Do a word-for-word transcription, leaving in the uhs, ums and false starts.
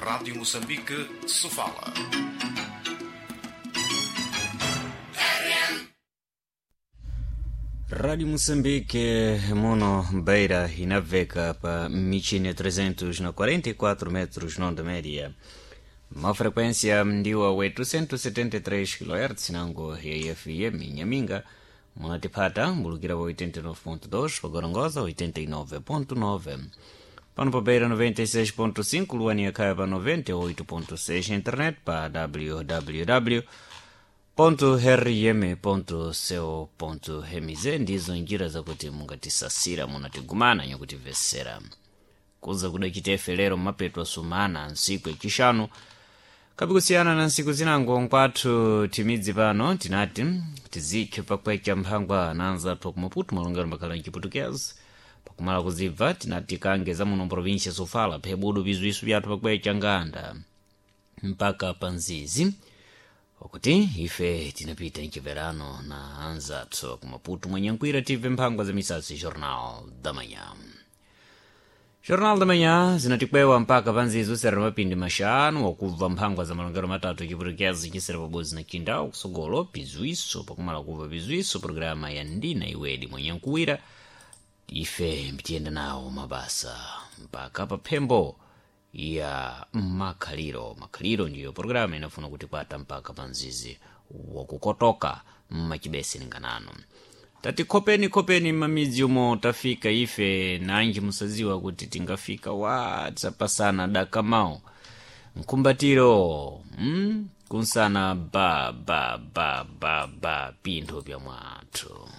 Rádio Moçambique, Sofala. Rádio Moçambique, mono Beira e navega pa michine trezentos e quarenta e quatro metros nonda média. Ma frequência ndiwa oitocentos e setenta e três quilohertz nango ya F M Nhaminga. Munatipata mbulukira wa oitenta e nove ponto dois, pa Gorongosa oitenta e nove ponto nove. Pano pa Beira noventa e seis ponto cinco, Luania Kaya pa noventa e oito ponto seis, internet pa W W W rm ponto co ponto M Z. Ndizo njira zakuti mungatisasira, munatigumana nyakutivesera kuza kudachitefe lero mmapeto asumana nsiku yachishanu kapikusiyana na nsiku zinango nkwathu timidzi pano tinati tizikhe pakwecha mphangwa na anzathu kumaputu malongero makhala mchiputukezi pakumala kuzibva tinati kange za muno província Sofala phebudu bizwisu byathu pakwecha nganda mpaka panzizi okuti ife tinapita mchiverano na anzathu kumaputu mwenyankwira tive mphangwa za misasi Jornal da Manhã. Jornal da Manhã zinatikwewa mpaka panzizo sera mapindi maxanu wakubva mphangwa za malongero matatu chiputukezi chisera pabodzi na chindawu kusogolo pizwiso pakumala kubva pizwiso programa ya Ndina Iwedi mwenyankuwira ife mtiyenda nawo mabasa mpaka paphembo ya makhaliro. Makhaliro ndiyo programu inafuna kutikwata mpaka panzizi wakukotoka mmachibesi linganano tati khopeni khopeni mmamidzi umo tafika ife nanji musaziwa kuti tingafika wa tsapasana dakamao mkumbatiro mm? kunsana ba ba ba ba ba pintho pya mwathu.